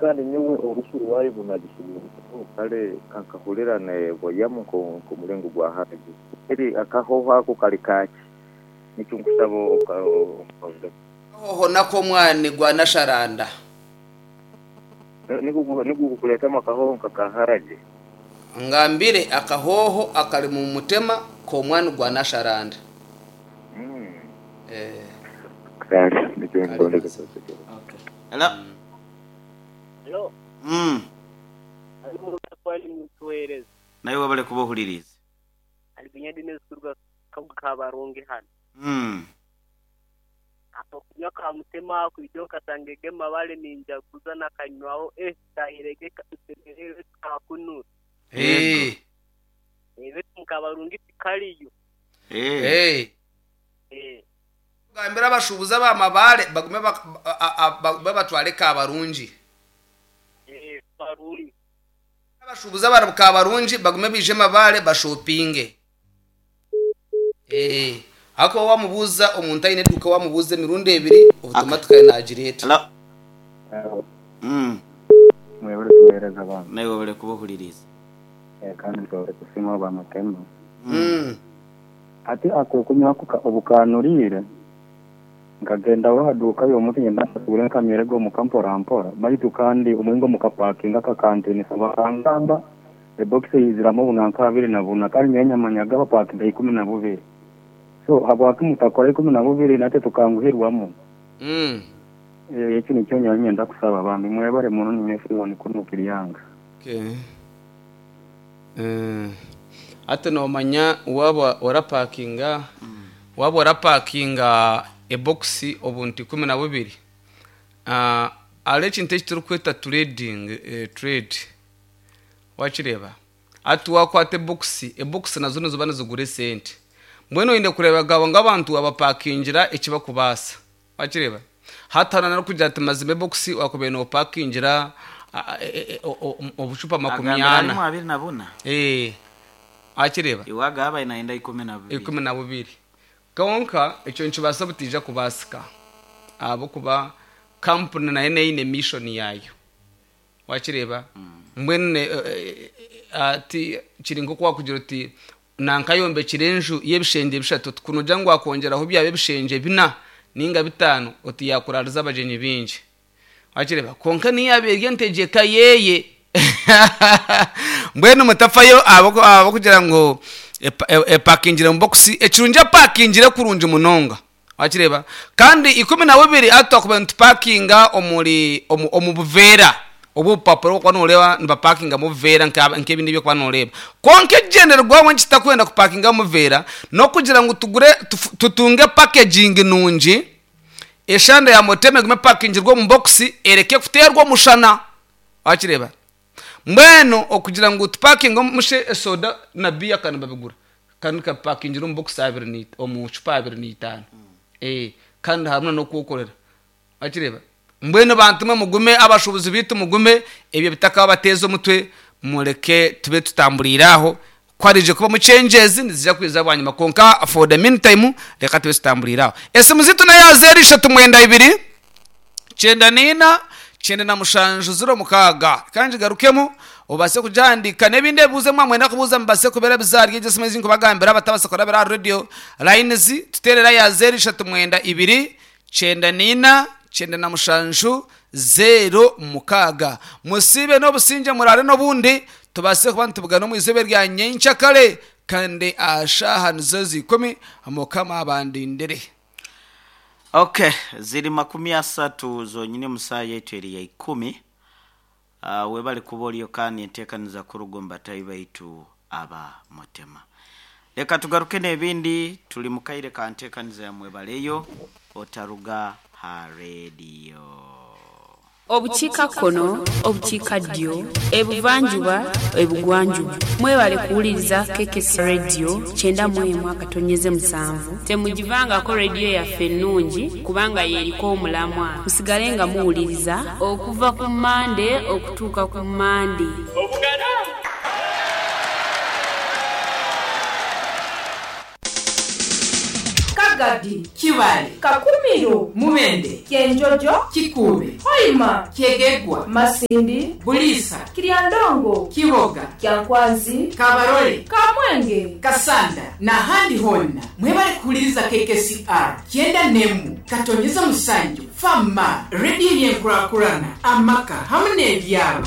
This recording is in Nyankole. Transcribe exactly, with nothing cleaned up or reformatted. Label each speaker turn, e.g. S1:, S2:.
S1: Kandi nyowe orufu rwayo bunagisuubira.
S2: Kale kankahurira negoyamu nk'omulingo gwa haragi. Eri akahoho ako kali kaki? Nikyo nkusaba oka-
S3: Hoho nako omwani gwa nasharanda.
S2: Nigwo nigwo gukuleetamu akahoho nka ka haragi.
S3: Ngambire akahoho akali mu mutema k'omwani gwa nasharanda.
S2: Mm.
S3: Eh,
S2: Kale nikyo
S3: Kale
S2: ngondeka
S3: mazima.
S4: Okay. Hello.
S5: Hello,
S4: Mm.
S5: ali mu mutuweereza.
S4: Nawe wabale kuba ohulirize.
S5: Ali kunyadi nezikurwa kabarungi hano.
S4: Mm.
S5: Apo kunywa ka mutema kwijo kasangege mabale ninjaguza nakanywaho eh tahirege kasemerere kakunura.
S3: Eh,
S5: Ebe mukabarungi tikaliyo.
S4: Eh.
S3: eh.
S5: Eh,
S3: Gambira abashubuzi abamabale bagume bak- a- a- bagume batwale kabarungi.
S5: eh barungi.
S3: Abashubuzi abari kabarungi bagume bije mabale bashopinge. Eh, ako wamubuza omuntu aine eduka wamubuza emirundi ebiri automatically nagira
S4: Hello. Mm.
S6: Mwebale tuweereza abantu.
S4: Nawe wabale kuba ohulirize.
S6: Eh, kandi nshobora kusima bamutema.
S3: Mm.
S6: Ati ako kunywa kuka obukanurire nkagenda wahaduka yo muti ngenda nsubire nkamyere go mukampora mpora baitu kandi omuhingo mukapakinga kakantinisa bakangamba ebokisi yiziramu obunanka abiri na buna kandi nyowe nyamanyaga bapakinga ikumi na bubiri so habwaki mutakora ikumi na bubiri nate tukanguhirwamu.
S3: Mm.
S6: Eh, eki nikyo nyowe nyenda kusaba bambi mwebale muno ninye Simon kunukiryanga.
S3: Okay. Eh, ate nomanya waba orapakinga waba orapakinga ebokisi obuntu ikumi na bubiri uh, ari ekintu eki turikweta trading eh, trade wakireba ati wakwata ebokisi ebokisi nazo niziba nizigura esente mbwenu oyine kureba gabo ng'abantu abapakingira ekibakubaasa wakireba hatana narikugira ati mazima ebokisi wakubaire nopakingira a- e- e- o- o- obucupa makumi
S4: Agambira
S3: ana
S4: harimu abiri na buna.
S3: Eh, akireba
S4: Iwaga aba inaenda ikumi na bubiri.
S3: ikumi na bubiri konka ekyo nikibaasa butija kubaasika ahabwokuba kampuni nayo neine mission yayo wakireba mbwenu ne- eh, eh, ati kiri nko kwakugira uti nankayombekire enju y'ebishengye bishatu kunogira ngu wakwongyeraho byaba ebishengye bina ninga bitano oti yakurariza abagyenyi bingi wakireba konka niyo yaaba eri entegyeka yeye mbwenu mutafayo abo abo kugira ngu epa- e- epakingire mu bokisi ekirungi epakingire kurungi munonga wakireba kandi ikumi na bubiri ati twakuba nitupakinga omuri omu omu buveera obu obupapura obwokuba noreeba nibapakinga mu buveera nka- nk'ebindi ebyokuba noreeba konka ekigyendererwaho nkitakwenda kupakinga mu buveera n'okugira ngu tugure tufu- tutunge packaging nungi eshanda ya motema egume epakingirwe omu bokisi ereke kuteerwa omushana wakireba mbwenu okugira ngu tupakinge mushe esoda na biya kandi babigura kandi kapakingira omu bokisi abiri ni omu cupa abiri n'itaano eh kandi hamwe n'okwokorera wakireba mbwenu bantu mwe mugume abashubuzi bitu mugume ebyo bitakabateeza omutwe mureke tube tutamburiire aho kwarije kuba mucengezi nizija kwiza bwanyuma konka for the meantime reka tube tutamburiire aho esimu zitu nayo zero ishatu mwenda ibiri cyenda nina cyenda na mushanju ziro mukaga kandi garukemo ubase kujandika n'ebindi ebibuzo mwamwenda kubuuza mubase kubera bizarye egyo simu nkubagambira abatabasa kurabira aha radio lines tuterera ya zero ishatu mwenda ibiri cyenda nina cyenda na mushanju zero mukaga musibe n'obusinge murare n'obundi tubase kuba nitubugana omu izooba rya nyenkyakare kandi ashaha nizo zikumi mukama abandindire.
S4: Okay, ziri makumi asatu zonyine musaa yetu eri ya ikumi. Uh, webale kuba oliyo kandi enteekaniza kurugomba tayi baitu aba mutema. Leka tugaruke n'ebindi tuli mukaire ka nteekaniza ya mwebaleyo otaruga ha radio.
S7: Obukiikakkono, obukiikaddyo, ebuvanjuba, ebugwanjuba, mwebale kuwuliriza K K S Radio kyenda mu emu akatonyeze musanvu. Temugivangako rediyo yaffe ennungi kubanga y'eriko omulamwa. Musigale nga muwuliriza okuva ku Mmande okutuuka ku Mmande.
S8: Kagadi,
S9: Kibale,
S8: Kakumiro,
S9: Mubende,
S8: Kyenjojo,
S9: Kikuube,
S8: Hoima,
S9: Kyegegwa,
S8: Masindi,
S9: Buliisa,
S8: Kiryandongo,
S9: Kiboga,
S8: Kyankwanzi,
S9: Kabarole,
S8: Kamwenge,
S9: Kasanda n'ahandi honna mwebale kuhuliriza K K C R kyenda nemu katonyeza musanju fama rediyo y'enkurakurana amaka hamwe n'ebyaro.